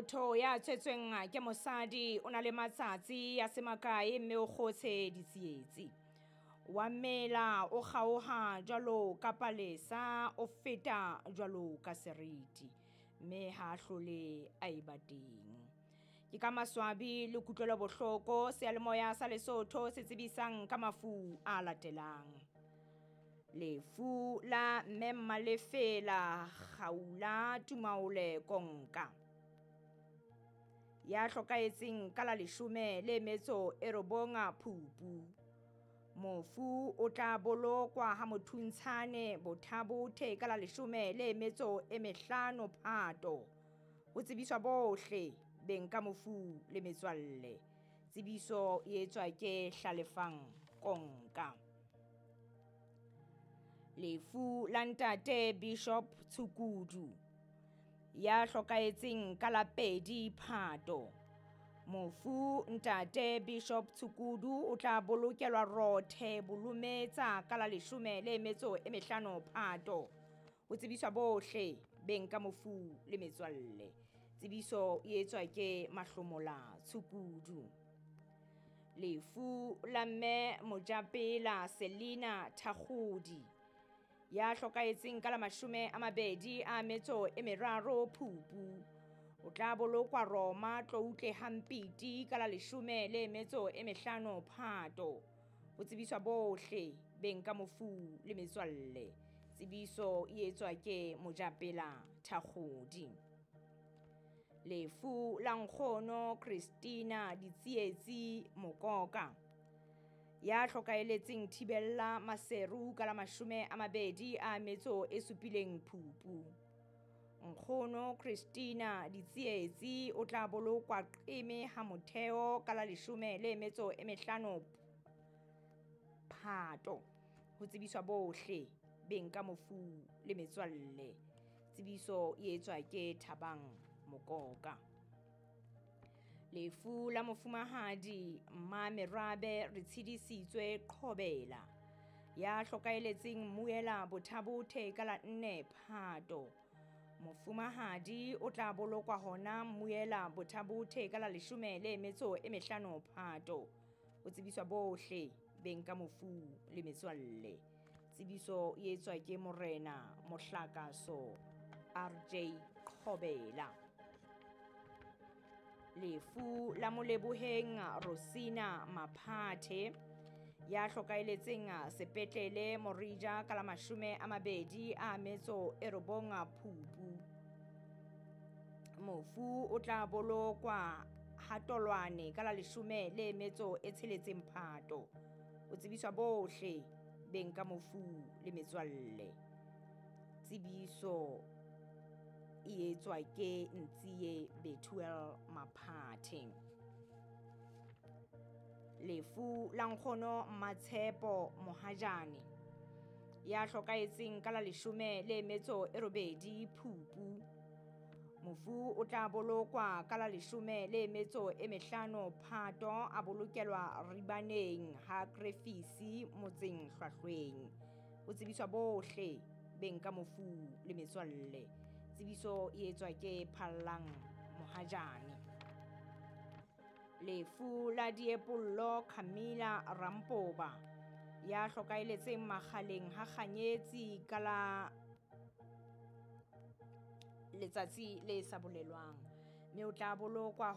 Motho ya tswetsweng ke mosadi o na le matsatsi a se makae mme o kgotshe ditsietsi. Wa mela o kgaoha jwalo ka palesa, o feta jwalo ka seriti, mme ha a hlole a eba teng. Ke ka maswabi le kutlwelobohloko seyalemoya sa Lesotho se tsebisang ka mafu a latelang. Lefu la Mme Mmalefela Kgaula Tumaole Konka ya hlokahetseng ka la leshome le metso e robonga Phupu. Mofu o tla bolokwa ha Mothuntshane Bothabothe ka la leshome le metso e mehlano Phato. Ho tsebiswa bohle beng ka mofu le metswalle. Tsebiso e etswa ke Hlalefang Konka. Lefu la ntate Bishop Tshukudu ya hlokahetseng ka la 2 Phato. Mofu ntate Bishop Tshukudu o tla bolokelwa Rothe Bolometsa ka la leshome le metso e mehlano Phato. Ho tsebiswa bohle beng ka mofu le metswalle. Tsebiso e etswa ke Mahlomola Tshukudu. Lefu la mme Mojapela Selina Thakgodi ya hlokahetseng ka la 23 Phupu. O tla bolokwa Roma Tloutle Hampiti ka la 15 Phato. Ho tsebiswa bohle beng ka mofu le metswalle. Tsebiso e etswa ke Mojapela Thakgodi. Lefu la nkgono Christina Ditsietsi Mokoka ya hlokahelletseng Thibella Maseru ka la 27 Phupu. Nkgono Christina Ditsietsi o tla bolokwa Qeme ha Motheo ka la 15 Phato. Ho tsebiswa bohle beng ka mofu le metswalle. Tsebiso e etswa ke Thabang Mokoka. Lefu la mofumahadi Mmamerabe re tshedisitswe Qhobela ya hlokahelletseng Mmuela Bothabothe ka la 4 Phato. Mofumahadi o tla bolokwa hona Mmuela Bothabothe ka la 15 Phato. Ho tsebiswa bohle beng ka mofu le metswalle. Tsebiso e etswa ke Morena Mohlakaso RJ Qhobela. Lefu la Moleboheng Rosina Maphathe ya hlokahelletseng sepetlele Morija ka la 29 Phupu. Mofu o tla bolokwa Hatolwane ka la 16 Phato. O tsebiswa bohle beng ka mofu le metswalle. Tsebiso e etswa ke Ntsie Bethuel Maphathe. Lefu la nkgono Matshepo Mohajane ya hlokahetseng ka la 18 Phupu. Mofu o tla bolokwa ka la 15 Phato, a bolokelwa Ribaneng ha Krefisi motseng Hlwahlweng. Ho tsebiswa bohle beng ka mofu le metswalle. Tsebiso e etswa ke Phallang Mohajane. Lefu la Diepollo Camilla Rampoba ya hlokahelletseng Makgaleng ha Kganyetsi ka la letsatsi le sa bolelwang, mme o tla bolokwa